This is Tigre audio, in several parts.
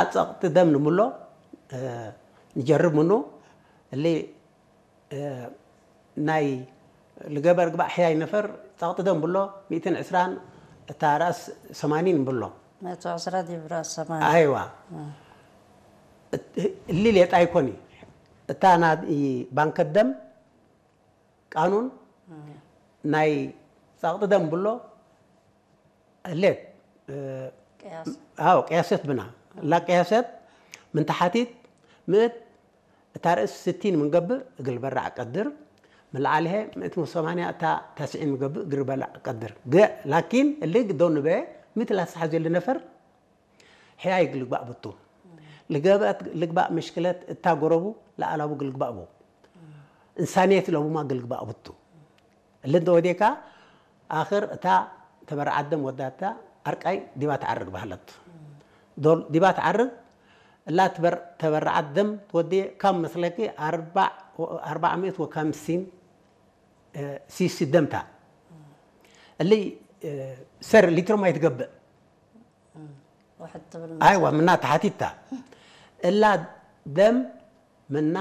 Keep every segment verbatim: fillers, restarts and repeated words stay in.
ጸቕጢ ደም ንምሎ፣ እ፣ ንጀርብ ምኑ፣ እሊ፣ እ፣ ናይ ልገበር ግባእ ሕያይ ነፈር ጸቕጢ ደም ብሎ፣ ሚእትን ዕስራን እታ ረአስ ሰማኒን ብሎ። መእቱ ዕስራ ዲብ ረአስ ሰማኒ። አይዋ። እ። እት-፣ እሊ ሌጣ ይኮኒ። እታ ናይ ባንከ ደም ቃኑን እ። ናይ ጸቕጢ ደም ብሎ፣ እሌት፣ እ፣ ቅያስ። አዎ፣ ቅያሰት ብና። እላ ቅያሰት ምን ተሓቲት ምእት እታ ርእስ ስቲን ምን ገብእ እግል በራዕ ቀድር፣ ምን ለዓል ህዬ ምእት ወሰማንያ እታ ተስዒን ምን ገብእ እግል በራዕ ቀድር። ገ-፣ ላኪን እሊ ግደው ንበ ምእት ላስተሐዜ ለነፈር ሕያይ እግል ልግባእ ብቱ። ልገበአት ልግባእ ምሽክለት እታ ጎረቡ ለአላቡ እግል ልግባእ ቡ። እንሳንየት ለቡማ እግል ልግባእ ብቱ። እሊ እንተ ወዴካ፣ አክር እታ ተበረዓት ደም ወዳታ አርቃይ ዲባ ተዐርግ በህለት። ዶል ዲባ ተዐርግ፣ እላ ትበር-፣ ተበረዓት ደም ትወዴ ካም መስለኪ አርባዕ ወ-፣ አርባዕ ምእት ወካምሲን፣ እ፣ ሲሲ ደም ታ። እሊ፣ እ፣ ሰር ሊትሮ ማይ ትገብእ። ወሕድ ትብል አይዋ፣ መሰል። ምና ተሓቲታ። እላ ደም ምና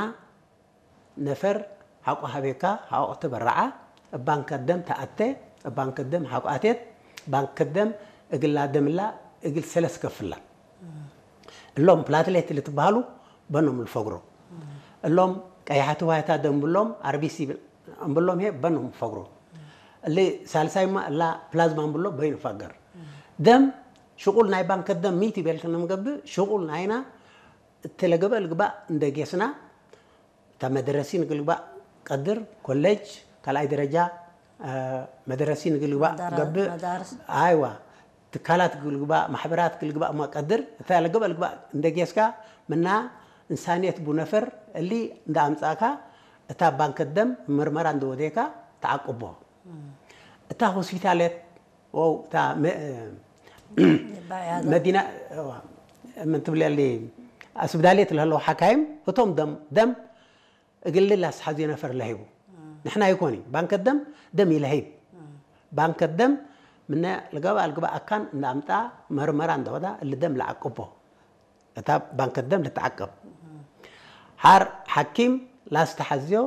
ነፈር ሐቆ ሀቤካ፣ ሐቆ ተበረዓ፣ እብ ባንከ ደም ተአቴ፣ እብ ባንከ ደም ሐቆ አቴት፣ ባንከ ደም እግላ ደምላ እግል ሰለስ ከፍላ። እሎም ፕላትሌት ልትበሃሉ በኖም ልፈግሮ። እሎም ቀያሐት ዋይታ ደም ብሎም፣ አርቢሲ እምብሎም ህዬ በኖም ፈግሮ። እሊ ሳልሳይማ እላ ፕላዝማ እምብሎ በይኑ ፈገር። ደም ሽቁል ናይ ባንከ ደም ሚቲ ቤልክነ ምገብእ፣ ሽቁል ናይና እት ለገብአ ልግባእ እንደ ጌስና፣ እታ መደረሲን እግል ልግባእ ቀድር፣ ኮሌጅ ካልኣይ ደረጃ፣ አ፣ መደረሲን እግል ልግባእ መዳራ-፣ ገብእ፣ መዳርስ። አይዋ፣ ትካላት እግል ልግባእ፣ ማሕበራት እግል ልግባእ እማ ቀድር፣ እታ ለገብአ ልግባእ እንደ ጌስካ፣ ምና እንሳንየት ቡ ነፈር እሊ እንደ አምጻእካ፣ እታ ባንከ ደም ምርመራ እንደ ወዴካ ተዓቅቦ። እም። እታ ሆስፒታለት ወው እታ መ-፣ ባዕያተ። መዲና፣ እዋ፣ ምን ትብለሊ፣ አስብዳሌት ለህለው ሐካይም ህቶም ደም፣ ደም እግል ለአስሐዜ ነፈር ለህይቡ። እም። ንሕና ይኮኒ፣ ባንከ ደም፣ ደም ኢለህይብ። እም። ባንከ ደም ምነ ልገባ ልግባ አካን እንደ አምጣ መርመራ እንደ ወዳ እሊ ደም ለአቅቦ። እታ ባንከ ደም ልትዓቀብ። እም። ሐር ሐኪም ላስተሐዝዮ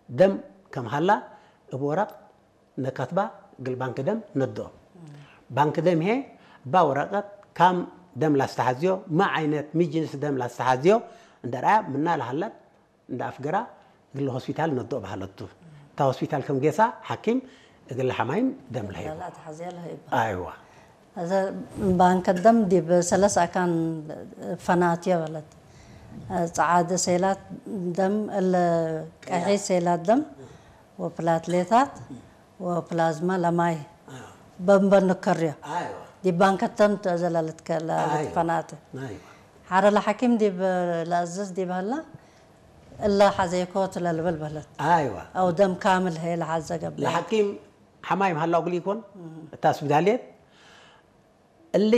ደም ከም ሀላ እብ ወረቅ ነከትባ እግል ባንክ ደም ነድኦ። ባንክ ደም ህዬ እባ ወረቀት ካም ደም ላስተሐዝዮ፣ ሚ ዓይነት ሚ ጅንስ ደም ላስተሐዝዮ እንደ ረአ ምና ለሀለት እንደ አፍገራ እግል ሆስፒታል ነድኦ በሀለቱ። እታ ሆስፒታል ከም ጌሳ ሐኪም እግል ሐማይም ደም ለሀይቦ። ለአትሐዝየ ለሀይቦ። አይዋ። እዘ ባንክ ደም ዲብ ሰለስ አካን ፈናትዮ በለት። ጸዓደ ሴላት ደም፣ እለ ቀሒ ሴላት ደም ወፕላትሌታት ወፕላዝማ ለማይ አዎ። በንበን ንከርዮ። አይዋ። ዲብ ባንክ ደም ተዘለለት ከ-፣ ለ-፣ አይዋ። ለትፈናተ። አይዋ። ሐረ ለሐኪም ዲብ ለአዝዝ ዲብ ሀላ እለ ሐዜኮ ትለልብል በለት። አይዋ። አው ደም ካምል ሄ ለሐዘ ገብእ። ለሐኪም ሐማይም ሀላው እግል ኢኮን፣ እም። እታ ስብዳልየት እሊ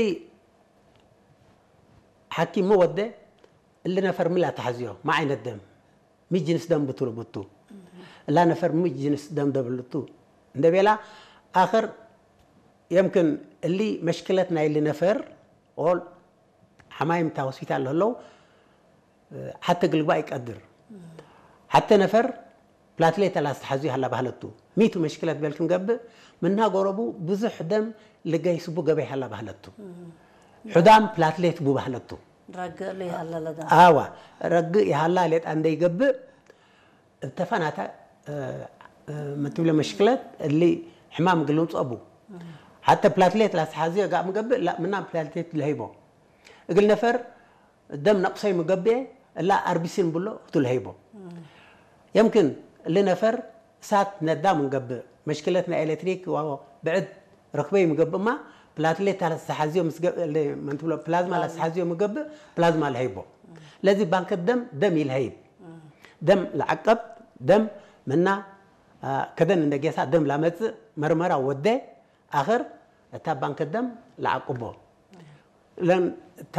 ሐኪም ሚ ወዴ፣ እሊ ነፈር ሚ ለአተሐዝዮ፣ ሚ ዓይነት ደም፣ ሚ ጅንስ ደም ብትሉ ብቱ፣ እላ ነፈር ሚ ጅንስ ደም ደብልቱ እንደ ቤላ፣ አክር የምክን እሊ መሽክለት ናይ እሊ ነፈር ኦል ሐማይም እታ ሆስፒታል ለህለው ሐቴ እግል ልግባእ ኢቀድር። ሐቴ ነፈር ፕላትሌት ለአስተሐዝዩ ሀላ በህለቱ። ሚቱ መሽክለት ቤልክን ገብእ፣ ምንሃ ጎረቡ ብዙሕ ደም ልገይስ ቡ ገበይ ሀላ በህለቱ። እም። ሑዳም ፕላትሌት ቡ በህለቱ። ረግእ እሉ ይሀለ ለደም። አዋ፣ ረግእ ይሀላ ሌጣ እንደ ይገብእ፣ እብ ተፈናተ፣ እ፣ እ፣ ምን ትብለ መሽክለት እሊ ሕማም እግል ልምጽኦ ቡ። እም። ሐቴ ፕላትሌት ለአስተሐዝዮ ጋር ምገብእ፣ ላ፣ ምና ፕላትሌት ለህይቦ። እግል ነፈር ደም ነቅሰይ ምገብኤ፣ እላ አርቢሲን ብሎ ህቱ ለሀይቦ። የምክን እሊ ነፈር እሳት ነዳ ምንገብእ፣ መሽክለት ናይ ኤሌክትሪክ ወብዕድ ረክበይ ምገብእማ፣ ፕላትሌት ለአስተሐዝዮ ምስገ-፣ እሊ ምን ትብሎ፣ ፕላዝማ ፕላዝማ። ለአስተሐዝዮ ምገብእ፣ ፕላዝማ ለሀይቦ። ለዚ ባንክ ደም፣ ደም ኢልሀይብ። ደም ለዐቀብ፣ ደም ምና፣ አ፣ ከደን እንደ ጌሳ ደም ላመጽእ መርመራ ወዴ፣ አክር እታ ባንክ ደም ለዐቅቦ። ለን እታ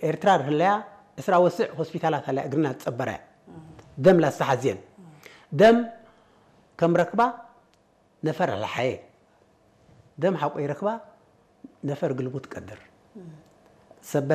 ኤርትራ ህለያ እስራ ወስዕ ሆስፒታላት ሀለያ እግልና ትጸበረ። ደም ላስተሐዝየን። ደም ከም ረክባ ነፈር ለሐየ። ደም ሐቆ ይረክባ ነፈር ግልሙት ቀድር። ሰበት